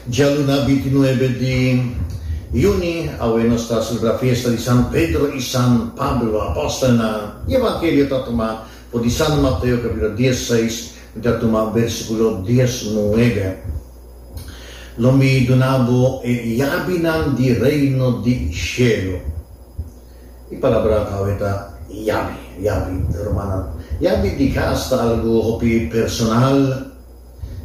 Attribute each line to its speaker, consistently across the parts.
Speaker 1: Djaluna bintinuebe di yüni, awe nos ta selebrá fiesta di San Pedro i San Pablo, apòstelnan. E evangelio ta tumá for di San Mateo kapítulo diesseis, mi ta tuma versíkulo diesnuebe. Lo mi duna bo e yabinan di reino di shelu. E palabra awe ta yabi, yabi, rumannan. Yabi di kas ta algu hopi personal.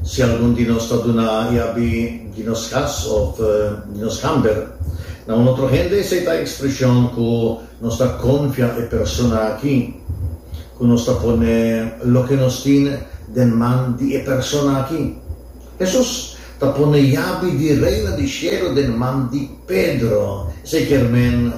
Speaker 1: Si algun di nos ta duna yabi di nos kas òf di nos kamber na un otro hende, esei ta ekspreshon ku nos ta konfia e persona aki, ku nos ta pone loke nos tin den man di e persona aki. Hesus ta pone yabi di Reino di Shelu den man di Pedro. Esei kier men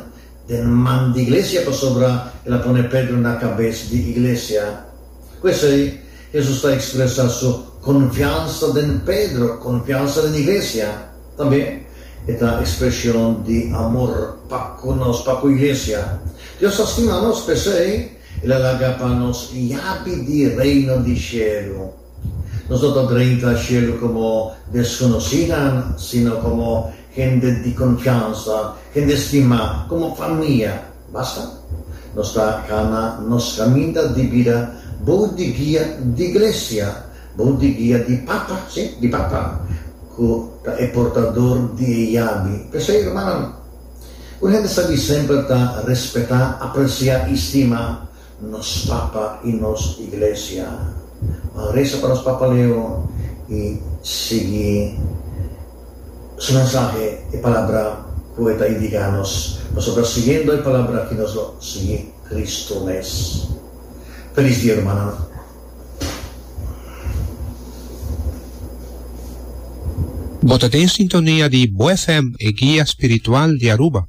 Speaker 1: den man di iglesia pasobra el a pone Pedro na kabes di iglesia. Ku esei, Hesus ta ekspresá su konfiansa den Pedro, konfiansa den iglesia. Tambe e ta ekspreshon di amor pa ku nos, pa ku iglesia. Dios ta stima nos, p'esei el a laga pa nos yabi di Reino di shelu. Nos no ta drenta shelu komo deskonosínan, sino komo hende di konfiansa, hende stimá, komo famia. Basta nos ta kana nos kaminda di bida bou di guia di Iglesia, bou di guia di Papa, sí, di Papa, ku ta e portador di e yabi. P'esei, rumannan, un hende sabí semper ta respetá, apresiá i stima nos Papa i nos Iglesia. Ban resa pa nos Papa Leo i sigui su mensahe, e palabra ku e ta indiká nos, pasobra siguiendo e palabra aki nos lo sigui Kristu mes. Felis dia rumannan.
Speaker 2: Bo ta den sintonia di Bo FM, e guia spiritual di Aruba.